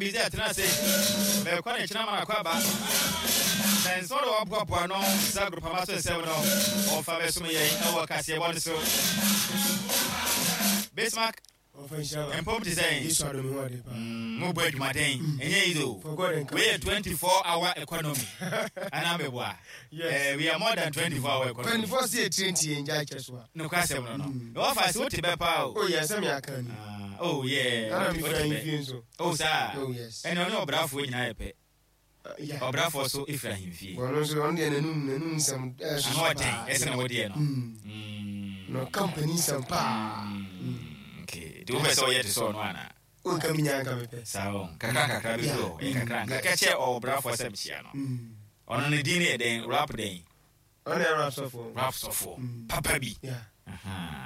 busy atena ase. Mɛkɔ ne kyena ma nakɔ aba. Sɛ nsɛm na waboaboa no sɛ agorupama so nsɛm no, ɔmfa bɛsom yɛn ɛwɔ kaseɛbɔ no so. Bismarck, mpom te sɛn? Mobɔ adwumaden, ɛnyɛ easy o. Wei yɛ 24 hour economy. Anaa meboa? Yes. We are more than 24 hour economy. 24 si etire nti yɛn gya kyɛ so a. Nokwa asɛm no no. Na wɔfa se wote bɛ paa o. Oh yes, sɛ me aka ni. Ah, oh yeah. Ana mi fira ahemfie nso. Oh saa. Oh yes. Ɛnna ɔne ɔbrafoɔ nyinaa yɛ pɛ. Yeah. Ɔbrafoɔ so efiri ahemfie. Ɔno nso ɔno deɛ n'anum n'anum nsɛm ɛsoso paa. Ano ɔden ɛsɛ na wɔdeɛ no. Na ɔka mpanin nsɛm paa. Okay. Nti wopɛ sɛ ɔyɛ te sɛ ɔno anaa? O nka mi nya nka mi pɛ. Saa o. Kakra nkakra bɛdu hɔ. Ɛyɛ kakra nkakra. Ka kyerɛ ɔbrafoɔ sɛ mehyia no. Ɔno ne din no yɛ dɛn? Rap dɛn? Ɔno yɛ rap sɔfoɔ. Rap sɔfoɔ. Papa bi.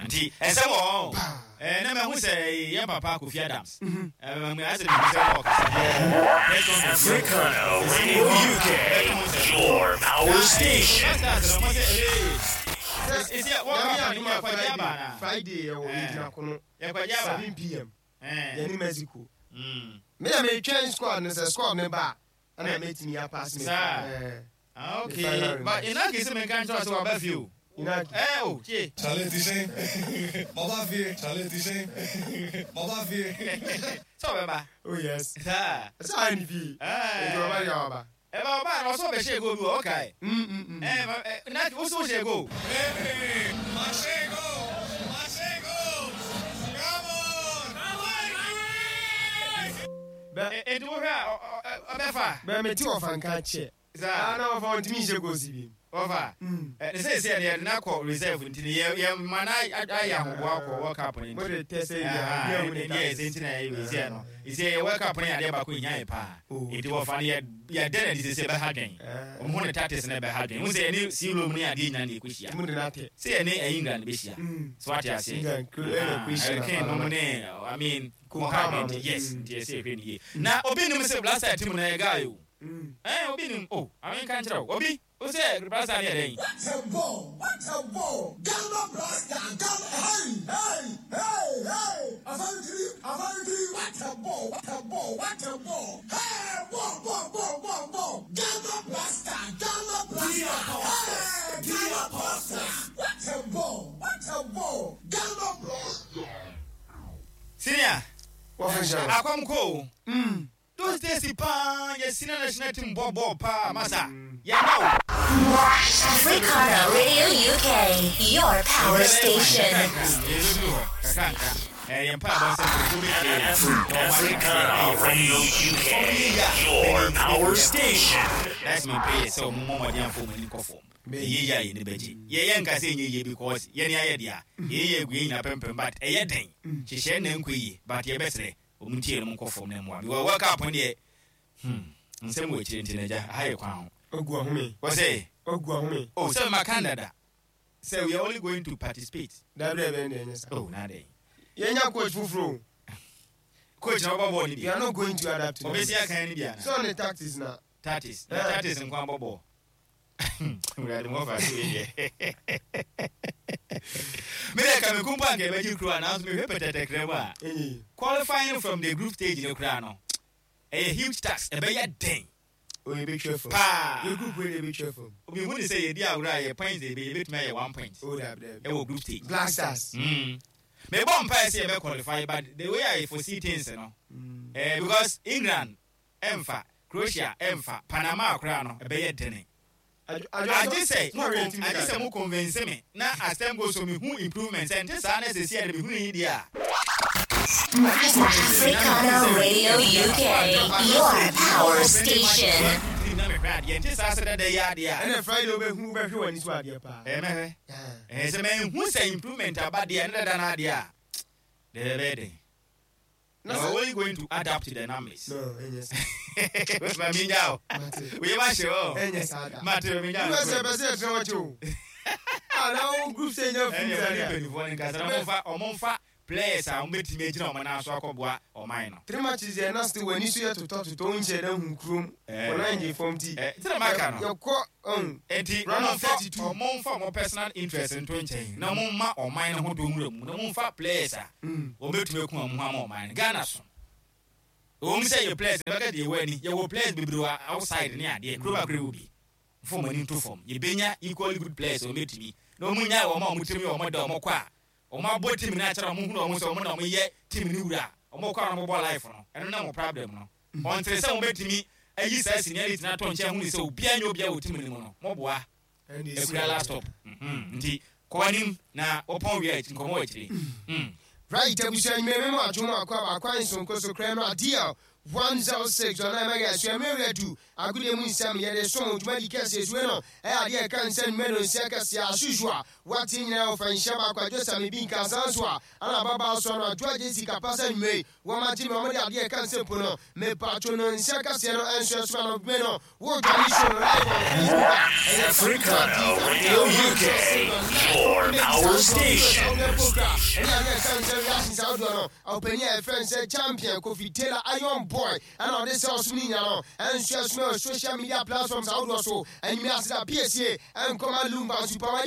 Nti ɛsɛm wɔ hɔ. Ɛɛ na mahu sɛ yɛn papa Kofi Adams. Ɛɛ asɛ mehu sɛ ɔkasa. Press conference. Africano Radio UK, your power station. Friday yɛwɔ yɛgyina kono 7 pm yɛne Mexico. Me na metwɛn squad no sɛ squad no ba a ɛna mɛtumi apass me. Saa. Ah, okay. But Inaki sɛ menka nkyerɛ sɛ waba fie o. Inaki. Eh, o, tie. Chale ti sɛn? Maba fie. Chale ti sɛn? Maba fie. Sɛ ɔbɛba. Oh yes. Saa. Sɛ ayɛ ne fie. Eh. Nti ɔba deɛ ɔba. Ɛba ɔba na ɔsɛ ɔbɛhyɛ goal bi wɔ ɔkae. Eh, Inaki, wo sɛ wohyɛ goal. Hey, mahyɛ goal. Mahyɛ goal. Come on. Bɛ. Enti wohwɛ a ɔbɛfa. Bɛ mete ɔfa nka kyɛ. Saa. Ah, na ɔfa ɔntumi nhyɛ goals bi. Ɔfa. Ne sɛ sɛ yɛde no akɔ reserve nti no yɛ yɛ ma no ayɛ ahoboa kɔ World Cup no nti. Mo de tɛ sɛ yɛ a yɛ ne yɛ sɛ nti na yɛ wei sɛ no. Sɛ yɛ World Cup no yɛ adeɛ baako hia yɛ paa. Nti wɔfa no yɛ yɛ dɛ na de sɛ sɛ ɛbɛha dwen. Wɔn ho ne tactics na ɛbɛha dwen. Wɔn sɛ yɛ ne Sealom ne adeɛ nyinaa na ɛkɔhyia. Mo de no atɛ. Sɛ yɛ ne England bɛhyia. So wate aseɛ. England nom ne I mean mo ha dwen nti yes nti ɛsɛ yɛhwɛ ne yie. Na obi nim sɛ Blaster team no ɛyɛ guy o. Ɛn obi nim o. Ame nka nkyerɛ wo. Obi. Wo sɛ Blaster no yɛ dɛn? What a ball, what a ball, Ghana Blaster, Ghana, hey, hey, hey, hey, Asantiri, Asantiri, what a ball, what a ball, what a ball, hey, ball, ball, ball, ball, ball, Ghana Blaster, Ghana Blaster, hey, Ghana Blaster, what a ball, what a ball, Ghana Blaster. Senior, Wɔfa nhyɛ wo. akɔm kɔ o. Those days paa yɛ senior national team bɔ bɔɔl paa masa yɛn na o. Africana Radio UK, your power station. Africana Radio UK, your power station. That's my prayer. Sɛ ɔmo mmɔ mmɔden afɔ ɔmo ani nkɔ fam. Ɛyɛ yie a yɛn ani bɛgye. Yɛ yɛn nka sɛ ɛnyɛ yie because yɛn ayɛ dea. Yɛyɛ yie agu yɛn nyinaa pɛmpɛm but ɛyɛ den. Hyehyɛ na ɛnkɔ yie but yɛbɛsrɛ ɔmo ntie na ɔmo nkɔ fam na mmoa. Because World Cup no deɛ hmm nsɛm wɔ akyire nti no agya aha yɛ kwan ho. Ogu ɔhome. Wɔse. Ogu ɔhome. Oh sɛ maka dada sɛ we are only going to participate. Dabi dabi ɛnde ɛnyɛ saa. Oh na adɛn. Yɛnya coach foforɔ o. Coach na ɔbɔ bɔɔl no bi. We are not going to adapt to them. Ɔbɛsi akan no bi anaa. Sɛ ɔne tactics na. Tactics na tactics nko abɔ bɔɔl. Wurade mo fa so yɛ. Me de ka me kumpa anka ɛbɛgye kuro a nanso mehwɛ pɛtɛtɛkrɛ mu a qualifying from the group stage no koraa no ɛyɛ huge task ɛbɛyɛ den. O yɛbɛtwa fam. Paa. Yɛ group wei de yɛbɛtwa fam. Obi hu ne sɛ yɛdi agorɔ a yɛ points de yɛbɛtumi ayɛ one point. O dabi dabi. Ɛwɔ group stage. Black Stars. Mebɔ mpaeɛ sɛ yɛbɛ qualify but the way I foresee things no eh, because England ɛmfa, Croatia ɛmfa, Panama koraa no ɛbɛyɛ dene. Agye sɛ mo agye sɛ mo convince me na as time goes on me hu improvement sɛ nte saa na sɛsi a de me hunu yi deɛ a. Africana Radio UK, your power station. Na mehwɛ adeɛ nte saa sɛ dada yi adeɛ a. Ɛna Friday wobɛhu wobɛhwɛ w'ani so adeɛ paa. Ɛɛ mɛhwɛ. Ɛɛ sɛ manhu sɛ improvement aba deɛ ne dada no adeɛ a deɛ ɛbɛyɛ den. Na You sɛ are only going to add up to the numbers. No, ɛnyɛ saa. Ma mi nya o. Mate. Oye ma hyɛ o. Ɛnyɛ saa da. Mate mi nya o. Wúlò sɛ ɛbɛ sɛ ɛtena wɔkye o. Ah, na wo group sɛ nya Ɛnna firi ɛwɔ ne sɛ. mpanyinfoɔ no nkasa na ɔmfa ɔmfa players a wɔbɛtumi agyina wɔn nan so akɔboa ɔman no. Three matches yɛ na still w'ani so yɛ totɔ totɔ wo nhyɛ dɛ hu kurom. Eh. Wɔn nan gye fam ti. Eh, nti na maka no. Yɛkɔ ɔn. Enti Round of ɔmfa 32. ɔmfa wɔn personal interest nto nkyɛn na wɔmma ɔman no ho dɔ nwura mu na wɔmfa players a wɔbɛtumi aku wɔn ho ama ɔman no. Ghana so. Ɛwɔ mu sɛ yɛ players no bɛka deɛ ɛwɔ ani, yɛwɔ players bebree wɔ outside ne adeɛ, kuro baako yɛwɔ bi. Mfa wɔn ani nto fam. Yɛbɛnya equally good players a wɔbɛtumi na wɔn nyae wɔn a wɔn tirim yɛ wɔn dɛ wɔn kɔ a wɔn abɔ team no akyerɛ wɔn hunu wɔn sɛ wɔn na wɔn yɛ team no wura a wɔn kɔ a wɔn bɔ life no ɛno ne wɔn problem no. Ɔntere sɛ wɔn bɛtumi ayi saa seniority no ato nkyɛn hunu sɛ obiara nyɛ obiara wɔ team no mu no. Moboa. Akura last stop. Nti kɔ anim na wɔpɔn wie a nkɔmmɔ wɔ akyire. Mm. Right abusua nwumere me mu adwo mu akɔ aba kwan sonko so kra mmra DL 106 ɔnan mɛga asua mmerɛ wura du agodie mu nsɛm yɛde som dwumadi kɛseɛ sue no ɛyɛ adeɛ ɛka nsɛm nnwuma no nsia kɛseɛ as usual wate nyinaa ɔfa nhyia baako adwo sɛ me bi nka saa nso a ana ababaa soa no adwo agye sika pa sɛ nwumere wɔn agye me wɔn de adeɛ ɛka nsɛm po no mepatwo no nsia kɛseɛ no ɛnso ɛsoma no me no wo dwane show no live on Facebook a ɛyɛ Africana Radio UK, your power station. Ɛne adeɛ ɛka nsɛm reactions ahodoɔ no ɔpanin a yɛfrɛ no sɛ champion Kofi Taylor Iron Boy ɛna ɔde sɛ ɔsom no nyina no ɛnso ɛsoma wɔ social media platforms ahodoɔ so anwummerɛ aseda piesie ɛnkɔma Lumba Nsupa wadi.